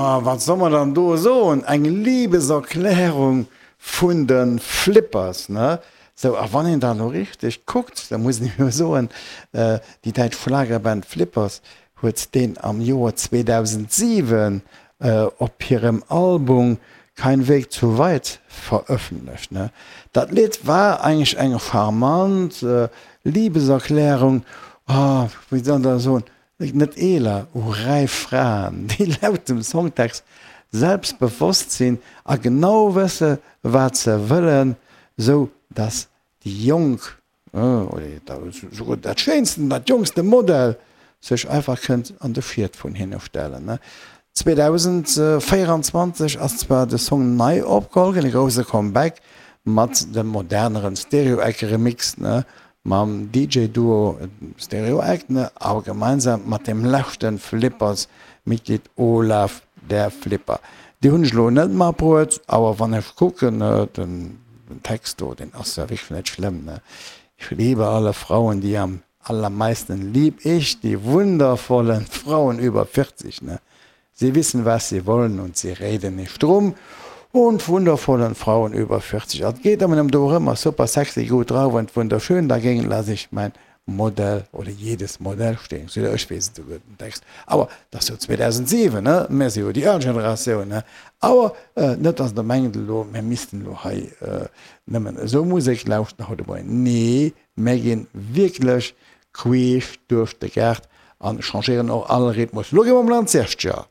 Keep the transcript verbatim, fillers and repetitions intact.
Ma wat soll mer dann do soen? Eng Liebeserklärung vun de Flippers, ne? Sou, a wann een da lo richteg kuckt, da muss een jo soen, déi däitsch Schlagerband Flippers huet deen am Joer zweedausentsiwen op hirem Album Kein Weg zu weit verëffentlecht, ne? Dat Lidd war eigentlech eng charmant Liebeserklärung, ah, wéi soll een dat soen, net eeler, u räif Fraen, déi laut dem Songtext selbstbewosst sinn a genau wësse wat se wëllen, sou dass déi jonk, oder souguer dat schéinsten, dat jonkste Modell sech einfach kënnt an de Schiet vun hinne stellen. zweedausendvéieranzwanzeg ass zwar de Song nei opgeholl ginn, e grousse Comeback mat dem moderneren Stereo Eck Remix, mam D J-Duo Stereo Eck, awer gemeinsam mat dem leschte Flippers-Mitglied Olaf der Flipper. Déi hunn ech elo net matbruet, awer wann ech kucken, den Text do, deen ass jo wierklech net schlëmm, ne? Ich liebe alle Frauen, die am allermeisten lieb ich die wundervollen Frauen über vierzig, ne? Sie wissen, was sie wollen und sie reden nicht drum und wundervollen Frauen über vierzig. Et geet ëmmer dorëmmer, super sexy, gutt drauf und wunderschön, dagegen lasse ich mein Modell oder jedes Modell stehen. So, ech weess et souguer den Text. Awer dat ass jo zweedausentsiwen, ne? Mir si jo déi al Generatioun, ne? Awer net, dass Der mengt elo, mir missten elo hei nëmmen esou Musek lauschten haut de Moien. Nee, mir ginn wierklech queesch duerch de Gaart an changéieren och all Rhythmus. Lo gi mer mol an d'Siechzeger.